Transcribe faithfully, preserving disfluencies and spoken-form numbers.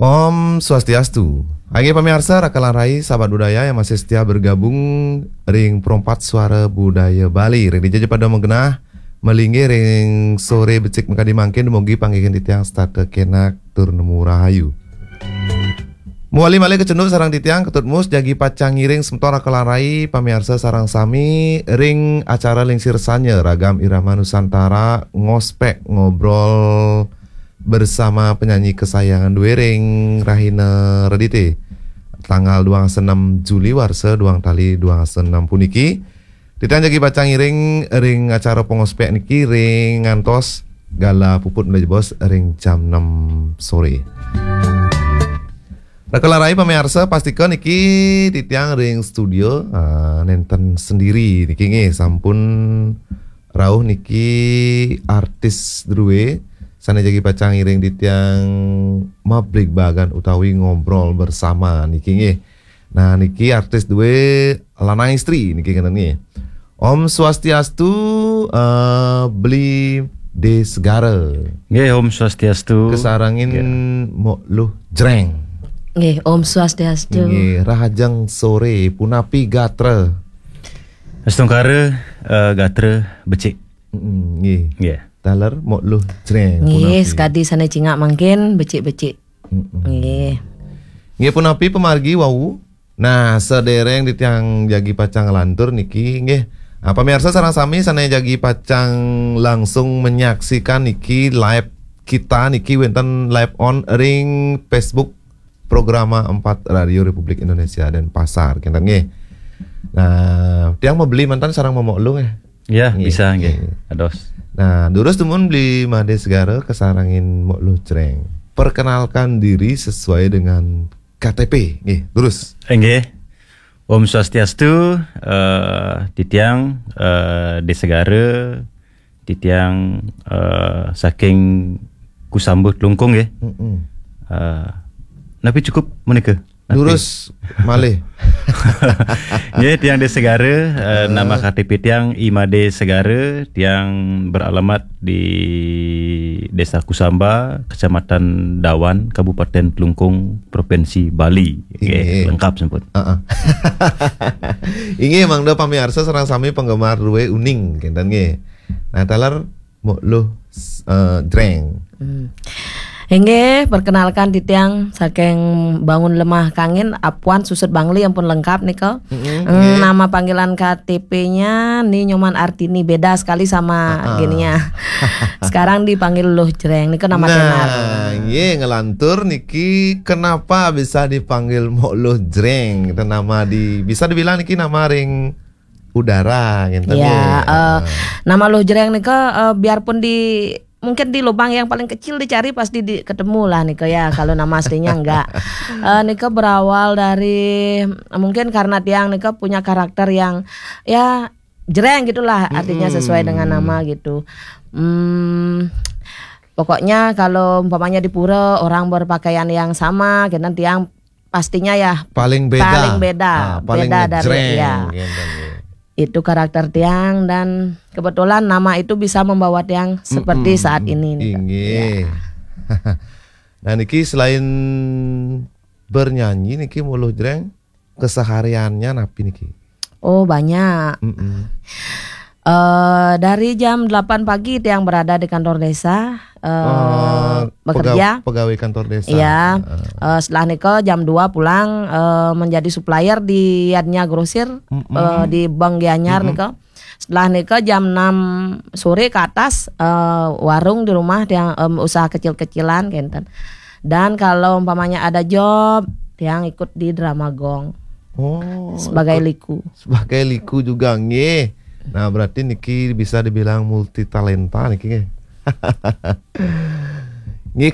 Om Swastiastu. Inggih pamiarsa, Raka lan Rai, sahabat budaya yang masih setia bergabung ring Perempat Suara Budaya Bali. Ring dija ja pada magenah, malinggih ring sore becik makadi mangkin, dumugi panggihin titiang setata kenak tur nemu rahayu. Mawali malih kacunduk sareng titiang, Ketut Mus, jagi pacang ngiring semeton Raka lan Rai, pamiarsa sareng sami ring acara Lingsir Sanya Ragam Irama Nusantara, ngospek ngobrol bersama penyanyi kesayangan dué ring rahina Redité, tanggal duang dasa nem Juli warsa duang tali duang dasa nem puniki. Titiang jagi pacang ngiring ring acara pangospek niki ring ngantos gala puput malih jebos ring jam nem sore. Raka lan Rai pamiarsa, pastika niki titiang ring studio, ah, nénten sendiri niki nggih, sampun rauh niki artis drué sané jagi pacang ngiring titiang mabligbagan utawi ngobrol bersama niki nggih. Nah, niki artis drué lanang istri niki kénten nggih. Om Swastiastu, eh, Beli Dé Segara. Nggih, Om Swastiastu. Kasarengin Mok Luh Jreng. Nggih, Om Swastiastu. Nggih, rahajeng sore, punapi gatra? Astungkara, eh, gatra becik. Mm-mm, nggih. Nggih. Taler Mok Luh Jreng, nggih, punapi? Sakadi sané cingak mangkin, becik-becik. Mm-mm. Nggih. Nggih, punapi pamargi wau? Nah, sadéréng titiang jagi pacang nglantur niki, nggih. Ah, pamiarsa sareng sami sané jagi pacang langsung menyaksikan niki live kita niki wénten live on ring Facebook Programa Empat Radio Republik Indonesia Denpasar, kénten nggih. Nah, tiang mabeli mantan sareng Mok Luh nggih. Ya, nggih, bisa nggih. Nggih. Ados. Nah, durus dumun Beli Madé Segara kasarengin Mok Luh Jreng. Perkenalkan diri sesuai dengan K T P. Nggih, durus. Nggih. Om Swastiastu, eh, titiang, eh, Dé Segara, titiang, eh, saking Kusamba Klungkung nggih. Mm-mm. Eh, napi cukup menika? Napi? Durus malih. Nggih, tiang Dé Segara, eh, nama K T P tiang I Madé Segara, tiang beralamat di Desa Kusamba, Kecamatan Dawan, Kabupaten Klungkung, Provinsi Bali. Nggih, inggih. Lengkap sampun. Heeh. Inggih, mangda pamiarsa sareng sami penggemar drué uning, kénten nggih. Nah, taler Mok Luh, eh, Jreng. Hmm. Inggih, perkenalkan titiang saking Bangun Lemah Kangin, Apuan Susut Bangli ampun lengkap nika. Mm-mm, hmm, nggih. Nama panggilan K T P-nya Ni Nyoman Artini, beda sekali sama, ah, ah, gininya. Sekarang dipanggil Luh Jreng, nika nama, nah, tenar. Nggih, ngelantur niki kenapa bisa dipanggil Mok Luh Jreng? Itu nama di, bisa dibilang niki nama ring udara, gitu ya, nggih. Eh, ah, nama Luh Jreng nika, eh, biarpun di, mungkin di lubang yang paling kecil dicari pasti di, ketemu lah nika ya, kalau nama aslinya enggak. Eh, nika berawal dari, mungkin karena tiang nika punya karakter yang, ya, jreng gitulah, artinya, mm-mm, sesuai dengan nama gitu. Hmm, pokoknya kalau umpamanya di pura orang berpakaian yang sama, gitu, tiang pastinya ya paling beda. Paling beda. Ah, paling beda dari, ngejreng, ya, gitu, ya. Itu karakter tiang dan kebetulan nama itu bisa membawa tiang seperti, mm-mm, saat ini nih, Kak. Inggih. Ya. Nah, niki selain bernyanyi niki Mok Luh Jreng, kesehariannya napi niki? Oh, banyak. Mm-mm. Eh, dari jam delapan pagi tiang berada di kantor desa, eh, eh, bekerja. Pega-, pegawai kantor desa. Iya. Heeh. Eh, setelah nika jam dua pulang, eh, menjadi supplier di Yadnya Grosir, mm-mm, eh, di Bank Gianyar, mm-mm, nika. Setelah nika jam enam sore ke atas, eh, warung di rumah tiang, em, usaha kecil-kecilan, kénten. Dan kalau umpamanya ada job, tiang ikut di Drama Gong. Oh, sebagai ikut liku. Sebagai liku juga, nggih. Nah, berarti niki bisa dibilang multi talenta niki, nggih. Nggih,